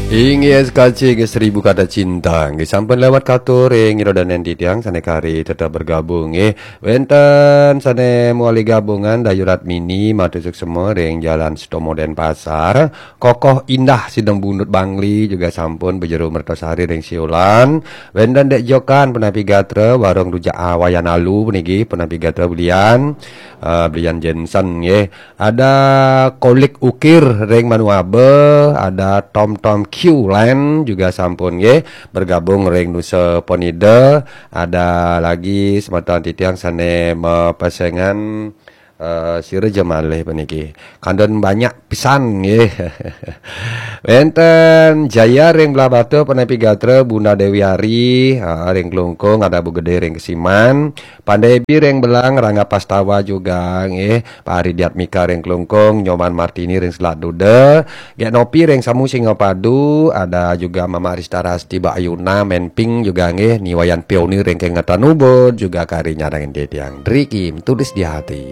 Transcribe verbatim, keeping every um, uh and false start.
Inggih, S K C, inggih, seribu kata cinta. Inggih, sampun lewat katur, inggih, roda nenti tiang sane kari tetap bergabung, inggih. Wenten sane muali gabungan, Dayu Ratmini, matur suksema ring Jalan Setomo Denpasar. Kokoh Indah Sidang Bunut Bangli juga sampun bejeru mertosari ring Siulan. Wenten Dek Jokan, Penapi Gatra, Warung Rujak Awayan Alu, puniki Penapi Gatra belian, eh, belian Jensen, nggih. Ada Kolik Ukir ring Manuabe, ada Tom Tom Q Land juga sampun, nggih, bergabung ring Nusa Penida. Ada lagi semeton titiang sane mapesengan, eh, sira ja malih puniki. Kandhen banyak pisan, nggih. Wenten Jaya ring Blahbatuh, Penapi Gatra, Bunda Dewi Ari, ha, ring Klungkung, ada Bu Gede ring Kesiman, Pandai Bi ring Belang, Rangga Pastawa juga, nggih, Pak Ari Diatmika ring Klungkung, Nyoman Martini ring Selat Duda, Gek Nopi ring Samu Singapadu, ada juga Mama Rista Rasti, Mbak Ayuna, Menping juga, nggih, Ni Wayan Pioni ring Kengetan Ubud, juga kari nyarengin titiang. Driki, tulis di hati.